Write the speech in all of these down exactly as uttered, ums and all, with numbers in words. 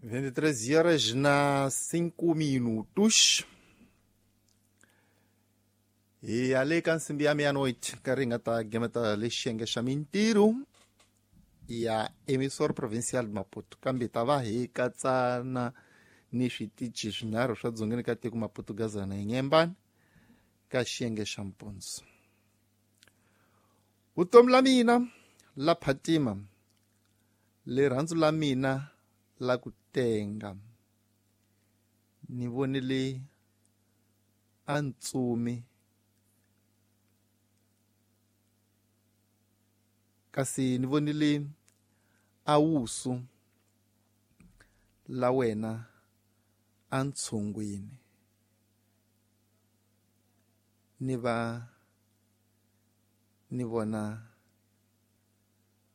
vinte e três horas na cinco minutos. E ali ka nsimbi ya meia-noite, nkarhi hi nga ta gemeta lexi xiyenge xa mintirho ya emissor provincial Maputo, kambe ta va hi katsana ni switichi swinharhu swa dzongeni ka tiko Maputo, Gaza na Inhambane ka xiyenge xa mpundzu. Vutomi la mina la phatima, rirhandzu la mina la ku tenga, ni vonile a ntsumi kasi ni vonile a wusu la wena a ntshungwini, ni va ni vona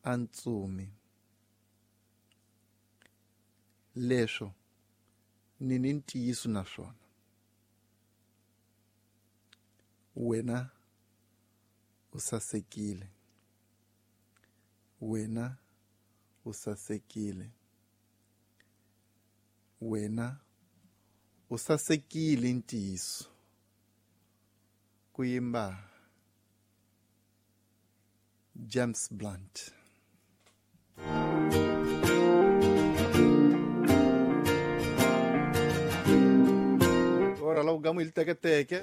a ntsumi. Leswo ni ni ntiyiso na swona, wena u sasekile, wena u sasekile, wena u sasekile ntiyiso. Ku yimba James Blunt. Ora la ugamu il teketeke.